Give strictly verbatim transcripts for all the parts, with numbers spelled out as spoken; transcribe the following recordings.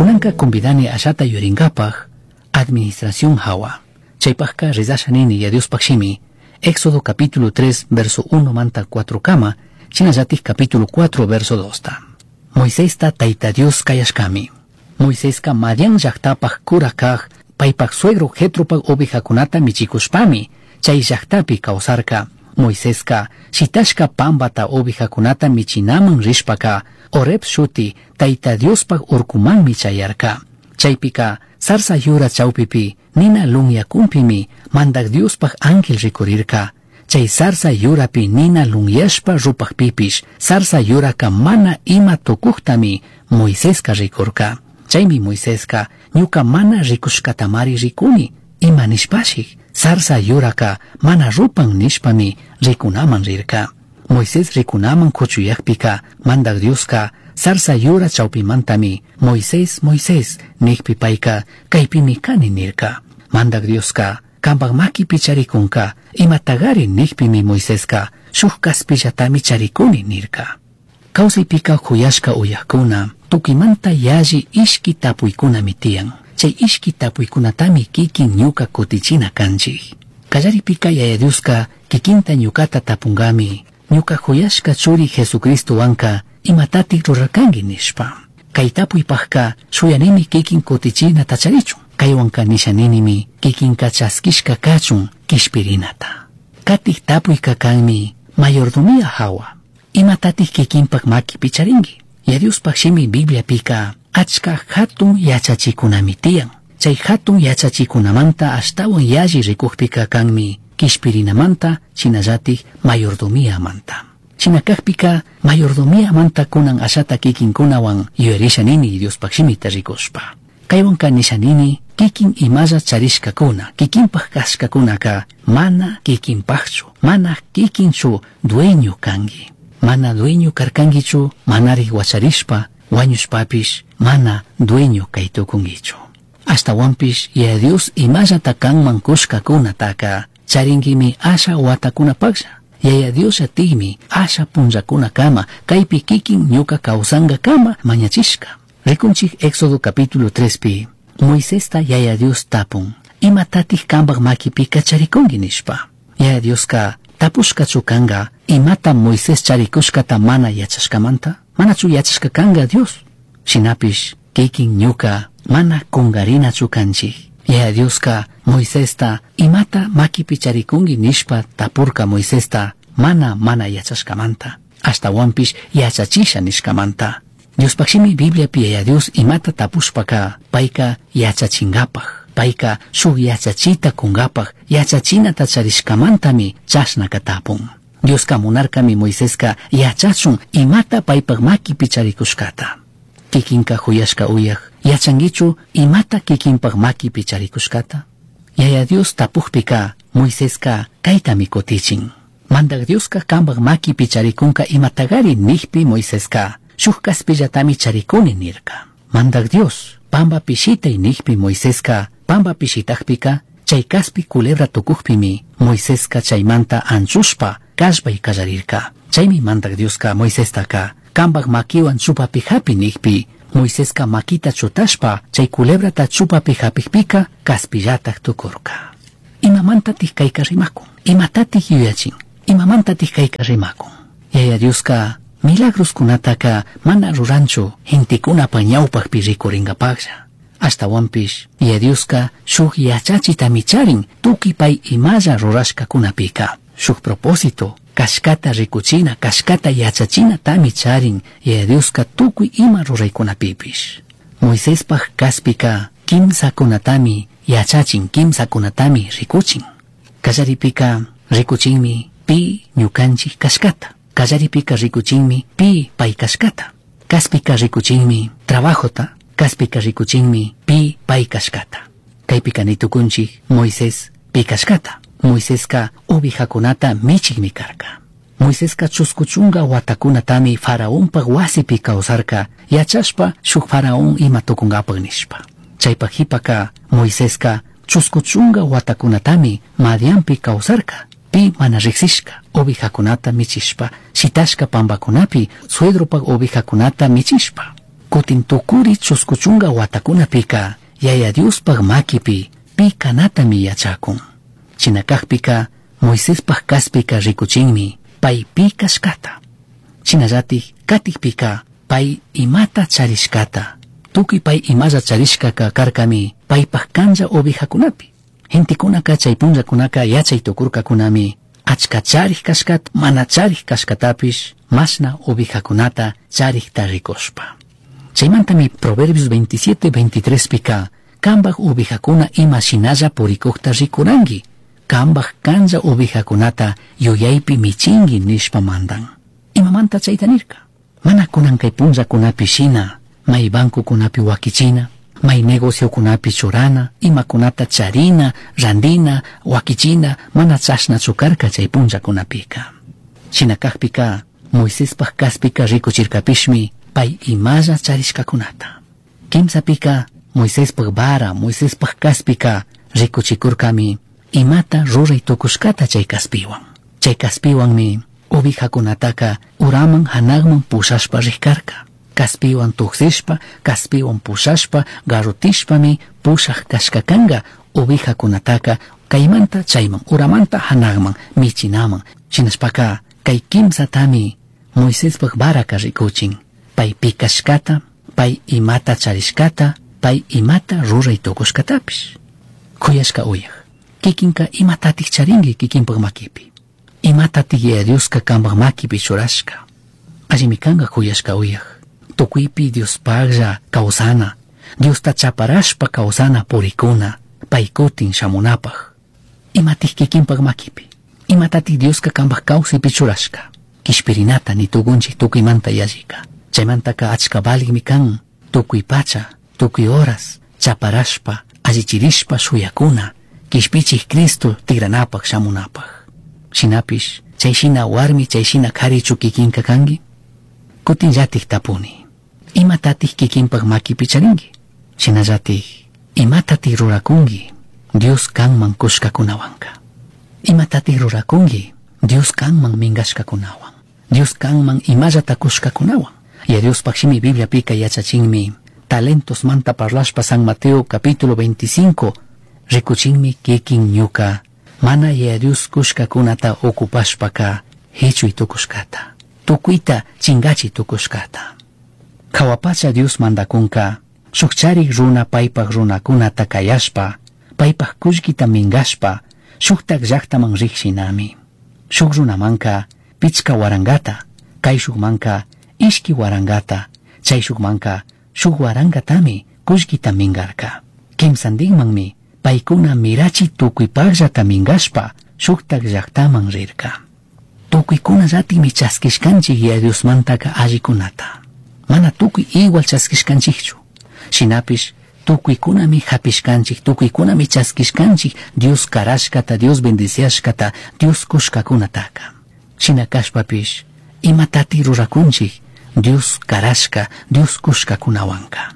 Kunanka convidani ashata yuringapaj administración hawa. Chaypajka rezasha nini Yaya Diospaj shimi Éxodo capítulo tres verso uno manta cuatro kama, shinallatik capítulo cuatro verso dos ta. Moisesta Taita Dios kayashkami. Moiseska Madián llajtapaj cura kaj, paypaj suegro Jetropaj ovejakunata michikushpami, chay llajtapi kawsarka. Moiseska shitashka pambata ovejakunata michinaman rishpaka, Horeb shuti Taita Diospaj urkumanmi chayarka. Chaypika zarza yura chawpipi nina lunyakunpimi Mandak Diospaj ángel rikurirka. Chay zarza yurapi nina lunyashpa rupajpipish, zarza yuraka mana ima tukujtami Moiseska rikurka. Chaymi Moiseska ñuka mana rikushkatamari rikuni, ima nishpashik, zarza yuraka mana rupan nishpami rikunaman rirka. Moisés rikunaman kuchuyakpika Mandak Dioska zarza yura chawpimantami Moisés, Moisés nikpi payka kaypimi kani nirka. Mandak Dioska kampak makipi charikunka imatagari nikpimi Moiseska shuk kaspillatami charikuni nirka. Kawsaypika huyashka uyakuna tukimanta yalli ishki tapuykunami tiyan. Chay ishki tapuykunatami kikin ñuka kutichina kanchik. Kallaripika Yaya Dioska kikinta ñukata tapungami ñuka huyashka churi Jesucristowanka imatatik rurarkanki nishpa. Kay tapuypajka shuyanimi kikin kutichina tacharichun. Kaywanka nishaninimi kikinka chaskishka kachun kishpirinata. Katik tapuyka kanmi mayordomía hawa. Imatatik kikinpak makipi charinki. Yaya Diospaj shimi Bibliapika achka hatun yachachikunami tiyan. Chay hatun yachachikunamanta ashtawan yalli rikukpika kanmi kishpirinamanta shinallatik mayordomíamanta. Shinakajpika mayordomíamanta kunan ashata kikinkunawan yuyarisha nini Diospaj shimita rikushpa. Kaywanka nisha nini kikin imalla charishkakuna, kikinpaj kashkakunaka mana kikinpajchu, mana kikinchu dueño kanki. Mana dueño karkankichu, manarik wacharishpa, wañushpapish, mana dueño kaytukunkichu. Ashtawanpish Yaya Dios imallata kanman kushkakunataka charinkimi asha watakunapaklla. Yaya Dios atikmi asha punllakunakama kaypi kikin ñuka kawsankakama mañachishka. Rikunchik Éxodo capítulo tres pi Moisesta Yaya Dios tapun imatatik kampak makipika charikunki nishpa. Yaya Dioska tapushkachu kanga imata Moisés charikushkata mana yachashkamanta? Manachu yachashka kanga Dios? Shinapish kikin ñuka mana kungarinachu kanchik. Yaya Dioska Moisesta imata makipi charikunki nishpa tapurka Moisesta mana mana yachashkamanta, ashtawanpish yachachisha nishkamanta. Diospaj shimi Bibliapi Yaya Dios imata tapushpaka payka yachachingapaj, payka shuk yachachita kungapaj, yachachinata charishkamantami chashnaka tapun. Dioska munarkami Moiseska yachachun imata paypak makipi charikushkata. Kikinka huyashka uyaj, yachankichu imata kikinpak makipi charikushkata? Yaya Dios tapujpika Moiseska kaytami kutichin. Mandak Dioska kampak makipi charikunka imatagari nikpi Moiseska shuk kaspillatami charikuni nirka. Mandak Dios pamba pishitay nikpi Moiseska pamba pishitakpika chay kaspi culebra tukukpimi Moiseska chaymanta anchushpa kallpay kallarirka. Chaymi Mandak Dioska Moisestaka kampak makiwan chupapi hapi nikpi Moiseska makita chutashpa chay culebrata chupapi hapikpika kaspillatak tukurka. Imamantatik kayka rimakun? Imatatik yuyachin? Imamantatik kayka rimakun? Yaya Dioska milagroskunataka mana ruranchu gentekunapa ñawpakpi rikuringapaklla. Ashtawanpish Yaya Dioska shuk yachachitami charin tukuy pay imalla rurashkakunapika. Shuk propósito kashkata rikuchina, kashkata yachachinatami charin Yaya Dioska tukuy ima ruraykunapipish. Moisespaj kaspika kimsakunatami yachachin, kimsakunatami rikuchin. Kallaripika rikuchinmi pi ñukanchik kashkata. Kallaripika rikuchinmi pi pay kashkata. Kaspika rikuchinmi trabajota, kaspika rikuchinmi pi pay kashkata. Kaypika nitukunchik Moisés pi kashkata. Moiseska ovejakunata michikmi karka. Moiseska chusku chunka watakunatami faraonpak wasipi kawsarka yachashpa shuk faraón ima tukunkapak nishpa. Chaypak hipaka Moiseska chusku chunka watakunatami Madianpi kawsarka. Pi mana riksishka ovejakunata michishpa, shitashka pambakunapi suedropak ovejakunata michishpa. Kutin Cutin tucuri chuscu chunga huatacunapika Yaya Diospaj maquipi pi canatami yachacun. Shina cajpica Moisespaj caspica ricuchinmi pai pi cashcata. Shinallatik katikpika pai imata charishcata. Tukuy pai imalla charishkaka karkami paipaj canlla ovejakunapi. Gentekunaka chay punllakunaka yachay tukurkakunami achka charij kashkata mana charij kashkatapish mashna ovejakunata charikta rikushpa. Chaymantami Proverbios veintisiete veintitrés pika kambaj ovejakuna ima shinalla purikukta rikuranki, kambaj canlla ovejakunata yuyaypi michinki nishpa mandan. Imamanta chayta nirka? Mana kunan kay punllakunapi shina, may bancokunapi wakichina, may negociokunapi churana, imakunata charina, randina, wakichina, mana chashnachu karka chay punllakunapika. Shina kakpika, Moisespaj kaspika rikuchirkapishmi pay imalla charishkakunata. Kimsapika, Moisespaj vara, Moisespaj kaspika rikuchikurkami imata ruray tukushkata chay kaspiwan. Chay kaspiwanmi ovejakunataka uraman hanakman pushashpa rikarka. Kaspiwan tuksishpa, kaspiwan pushashpa, garrotishpami pushaj kashkakanga ovejakunataka kaymanta chayman, uramanta hanakman, michinaman. Shinashpaka kay kimsatami Moisespaj varaka rikuchin. Pay pi kashkata, pay imata charishkata, pay imata ruray tukushkatapish. Kuyashka uyaj, kikinka imatatik charinki kikinpak makipi. Imatatik Yaya Dioska kanpak makipi churashka. Allimi kanka kuyashka uyaj. Tukuypi Diospaklla kawsana, Diosta chaparashpa kawsana purikuna, pay kutin shamunapaj. Imatik kikinpak makipi. Imatatik Dioska kanpak kawsaypi churashka. Kishpirinata ni tukunchik tukuymanta yallika. Chaymantaka achka valikmi kan tukuy pacha, tukuy horas, chaparashpa, allichirishpa shuyakuna, kishpichik Cristo tigranapaj shamunapaj. Shinapish, chay shina warmi chay shina karichu kikinka kanki? Kutinllatik tapuni. Imatatik kikinpak makipi charinki? Shinallatik, imatatik rurakunki Dios kanman kushkakunawanka? Imatatik rurakunki Dios kanman minkashkakunawan? Dios kanman imallata kushkakunawan? Yaya Diospaj shimi Bibliapika yachachinmi talentos manta parlashpa San Mateo capítulo veinticinco rikuchinmi kikin ñuka mana Yaya Dios kushkakunata ocupashpaka hichuy tukushkata, tukuyta chingachi tukushkata. Jahua pacha Dios mandakunka shuk charik runa paypak runakunata kayashpa, paypak kullkita minkashpa shuktak llaktaman rik shinami. Shuk runamanka pichka warangata, kayshukmanka ishki warangata, chayshukmanka shuk warangatami kullkita minkarka. Kimsantinmanmi paykuna mirachi tukuypakllata minkashpa shuktak llaktaman rirka. Tukuykunallatikmi chaskishkanchik Yaya Diosmantaka allikunata. Mana tukuy igual chaskishkanchikchu. Shinapish tukuykunami hapishkanchik, tukuykunami chaskishkanchik Dios karashkata, Dios bendiciashkata, Dios kushkakunataka. Shina kashpapish imatati rurakunchik Dios karashka, Dios kushkakunawanka.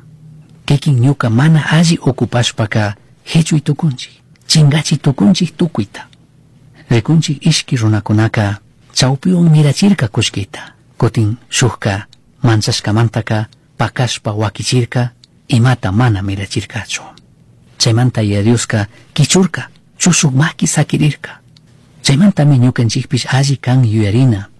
Kikin ñuka mana alli ocupashpaka hichuy tukunchik, chingachi tukunchik tukuyta. Rikunchik ishki runakunaka chawpiwan mirachirka kullkita, kutin shukka manchashkamantaka pakashpa wakichirka imata mana mirachirkachu. Chaymanta Yaya Dioska kichurka, chushuk maki sakirirka. Chaymantami ñukanchikpish alli kan yuyarina.